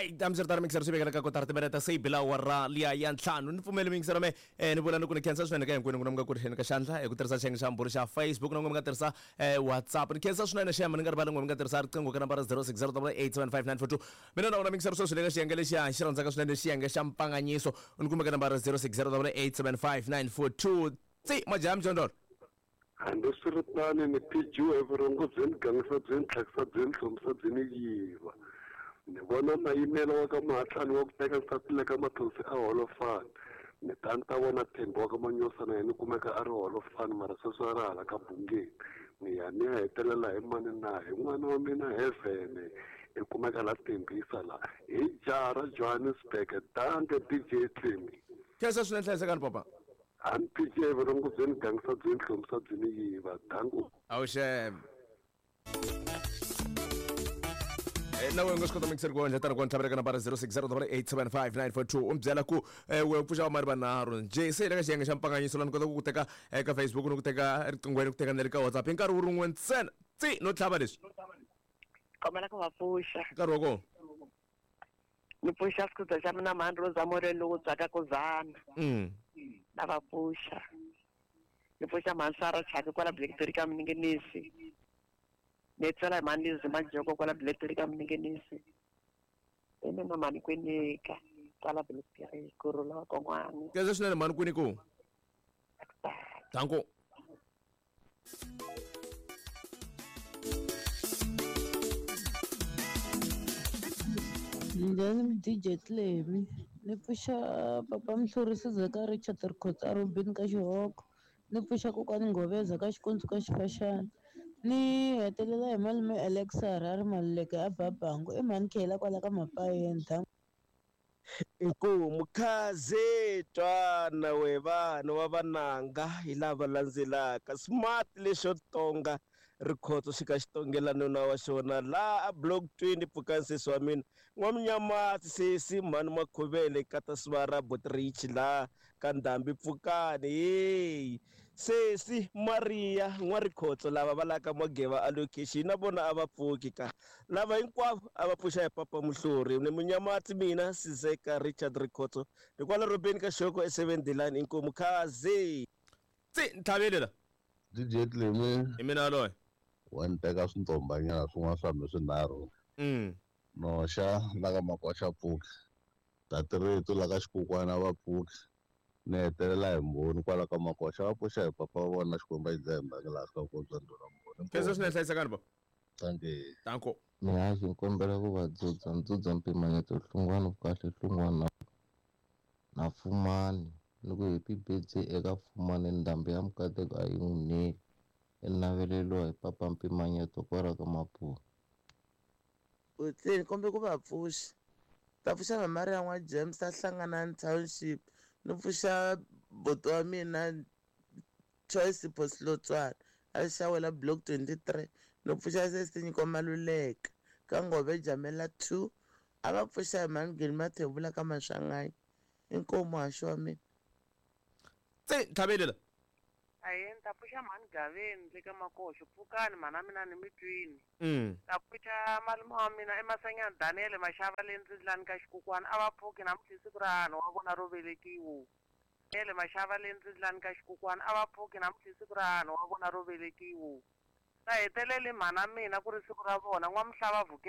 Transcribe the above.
Alright, hambiswiritano mixer swi vekela ka kotara timinete se yi bila awara liya ya ntlhanu. Ni pfumeli mixer me ni vula ni ku ni khensa swinene ka hinkwenu n'wina mi nga ku ri ka xandla hi ku tirhisa xiyenge xa mbhuri xa Facebook na n'wina mi nga tirhisa WhatsApp. Ni khensa swinene xem ni nga rivali n'wina mi nga tirhisa riqingho ka nambara 0608875942. Mina na wena mixer sweswi le ka xiyenge lexiya hi xi rhandzaka swinene xiyenge xa mpfanganyiso. Ni kumeka nambara 0608875942. Tsi majaha mjondolo. Hambiswiritano, ni phijiwe hi vurhongo byi ni gangisa byi ni tlhakisa byi ni hlomisa byi ni yiva. Ni vona Mayimela wa ka Mahatlani wa ku teka nsati le ka Mathonsi a holofani. Ni ta ni ta vona Thembi wa ka Manyosa na yena ni kumeka a ri holofani mara sweswi a ri hala ka Bungeni. Ni ya ni ya hetelela hi mani na? Hi n'wana wa mina Heaven i kumeka la Tembisa la. Hi jaha ra Johannesburg. Dankie DJ Tlemi. Khensa swinene hlayisekani papa. A ni phike vurhongo byi ni gangisa byi ni hlomisa byi ni yiva. Danko. Awuxem. Na wena u nga swi kota mixer ku endla tano ku ntlhavela ka nambara 0608875942 u mi byela ku we u pfuxa vamari vanharhu njhe se hi le ka xiyenge xa mpfanganyiso la ni kota ku ku teka eka Facebook ni ku teka riqinghweni ku teka na le ka WhatsApp hi nkarhi wu rin'we ntsena tsi no tlhava leswi Kombela ku va pfuxa. Nkarhi wa kona. Ni pfuxa xikhuza xa mina mhani Rosa Moreni lowu tswaka ku zana. Na va pfuxa. Ni pfuxa mhani Sara Chaka kwala Blackberry ka Mninginisi. Ni tsela hi mhani Lizzy Majoko kwala Blackberry ka Mninginisi. I mina mhani Kwinika kwala Blackberry ku rhula wa kon'wana. Khensa swinene mhani Kwiniku. Danko. Njhani DJ Clemy ni pfuxa papa Mhlurisi ka Richard Rikhotso a Robin ka Xihoko ni pfuxa kokwani Nghoveza ka Xikundzu ka Xifaxana ni hetelela hi malume Alex Harare Maluleke a Babangu i mhani Khela kwala ka Mapayeni. Inkomu khaze twana we vana wa vananga hi lava landzelaka smart lexo tonga rikhotso xi ka xi tongela nuna wa xona laha a block 20 pfukani sesi wa mina n'wamnyamatsi sesi mhani makhuvele kata sivara botrich laha ka ndhambi pfukani heyi sesi maria n'warikhotso lava va laka mageva a location na vona a va pfuki ka Lava hinkwavo a va pfuxa hi Papa Muhluri ni Munyamatsi mina Sizeka Richard Rikhotso ni kwala Robeni ka Xoko e7 Dilani inkomu khazi. Tsi ntlhaveli la. DJ Clemy. Hi mina yaloye. Wa ni teka swintombanyana swin'wana swa mi swinharhu. Noxa la ka Makoxa pfuki. Tati Ritu la ka Xikukwana va pfuki. Ni hetelela hi Mbhoni kwala ka Makoxa va pfuxa hi papa wa vona Xikwembu a xi dlaye mbangi laha swi ka bya ndhuna Mbhoni. Khensa swinene hlayisekani baba. Dankie. Danko. Mihaxi ni kombela ku va dzudza ni dzudza mpimanyeto hlungwani vukahle hlungwani na na Fumani ni ku happy birthday eka Fumani ndhambi ya mukateko a yi n'wi neli i naveleliwa hi papa mpimanyeto kwala ka Mapuwa. Buti ni kombela ku va pfuxa. Ta pfuxa mama Maria n'wa James a Hlanganani Township ni pfuxa buti wa mina Choice Phosilotswana a Xawela Block 23 no pfuxa sesi Nyiko Maluleka ka Ngove Jamela 2 a va pfuxa hi mhani Geni Mathebula ka Maswanganyi inkomu muhaxi wa mina. Tse ntlhaveli la. Ahee ni ta pfuxa mhani Gaveni le ka Makoxo pfukani mhana mina ni mi twini. Ta pfuxa malume wa mina eMasanyana Daniel Mashava le Ndzindlani ka Xikukwana a va pfuki namuntlha i siku ra hahani wa vona ro velekiwa. Ele Mashava le Ndzindlani ka Xikukwana a va pfuki namuntlha i siku ra hahani wa vona ro velekiwa. Ta heteleli mhana mina ku ri siku ra vona N'wamuhlava Vukela.